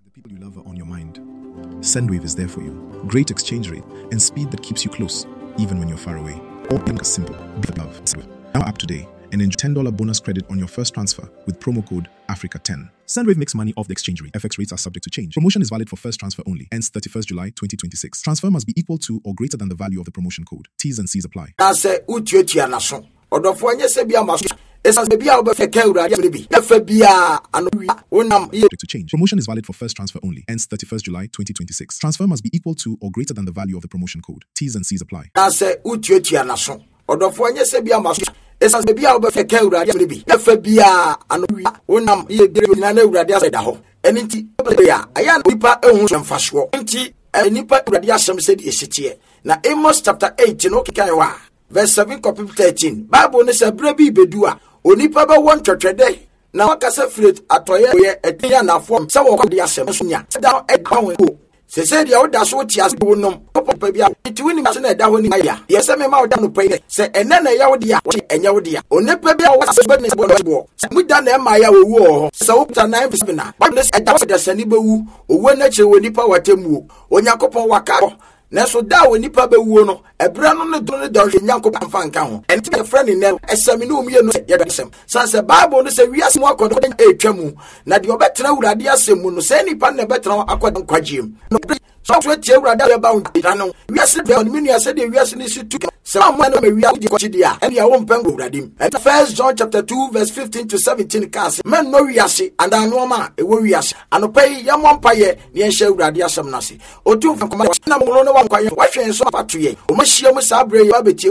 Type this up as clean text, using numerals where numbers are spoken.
The people you love are on your mind. Sendwave is there for you. Great exchange rate and speed that keeps you close, even when you're far away. All things simple. Be love. Now up today and enjoy $10 bonus credit on your first transfer with promo code AFRICA10. Sendwave makes money off the exchange rate. FX rates are subject to change. Promotion is valid for first transfer only. Ends 31st July 2026. Transfer must be equal to or greater than the value of the promotion code. T's and C's apply. Anaasɛ wotuatua n'aso. Ɔdɔfoɔ nyɛ sɛ bia ma so ɛsiane sɛ bia wobɛfɛ ka Awurade asɛm no bi na fa bia ano wia wonam yɛ. To change. Promotion is valid for first transfer only. Ends 31st July 2026. Transfer must be equal to or greater than the value of the promotion code. T's and C's apply. Anaasɛ wotuatua n'aso. Ɔdɔfoɔ nyɛ sɛ bia ma so ɛsiane sɛ bia wobɛfɛ ka Awurade asɛm no bi na fa bia ano wia wonam yɛ nyinaa na Awurade asɛm da hɔ. Ɛno nti, a ɛyɛ a nipa ehu so mfasoɔ nti nipa Awurade asɛm sɛdeɛ ɛsi teɛ. Na Amos chapter 8 no wokenkan hɔ a, verse 7 kɔpem 13, Bible no sɛ berɛ bi bɛdu a onipa bɛwɔ ntwɛtwɛdɛ na wakasa firi atɔeɛ yɛ ɛdin anafoɔ sɛ wɔkɔ de asɛm nso nya sɛ da ɛda ho o sese deɛ woda so wote ase wo nom papa bi a nti wonim ase na ɛda hɔ ni ayɛ deɛ sɛ mema woda no pɛi sɛ ɛnɛ na ɛyɛ wo dea wɔte ɛnyɛ wo dea onipa bi a wɔwɔ asase bɛne bɔ no boɔ sɛ mu da na ɛma yɛ a wɔwu wɔ hɔ sɛ wopta 9 7 a Bible no sɛ ɛda hɔ sɛ dasani bɛwu owuo no akyire wɔ nipa wɔatemmuo Onyankopɔn waka hɔ. Nanso da a onipa bɛwuo no, ɛberɛ no ne dɔn ne dɔnhwere Nyankopɔn amfa nka ho. Ɛno nti na yɛfrɛ no nnɛ no, ɛsɛ me ne wo mmienu sɛ yɛdɔ asɛm. Sane sɛ Bible no sɛ wiase mu akɔdɔ ɛretwa mu, na deɛ ɔbɛtena Awurade asɛm mu no, saa nipa no na ɛbɛtena hɔ akɔ nkwagyeɛ mu. No sɛ ɔso atie Awurade a ɛba wo nkyɛn no, wiase deɛ ɔne me nua sɛdeɛ wiase no si tu sɛ wammɔ no ma wiase deɛ kɔkye deɛ a, ɛnea wompɛ nkɔ Awurade mu. Ɛnna First John chapter 2 verse 15 to 17 kaa sɛ, mɛnnɔ wiase anaa nneɛma a ɛwɔ wiase. Anɔpa yi yɛmmɔ mpaeɛ na yɛnhyɛ Awurade asɛm no ase. Otumfoɔ nkɔma na mo ne wankwa yɛn wahwɛ yɛn so afa to yɛn. Wɔn ahyia mu saa berɛ yi abetie.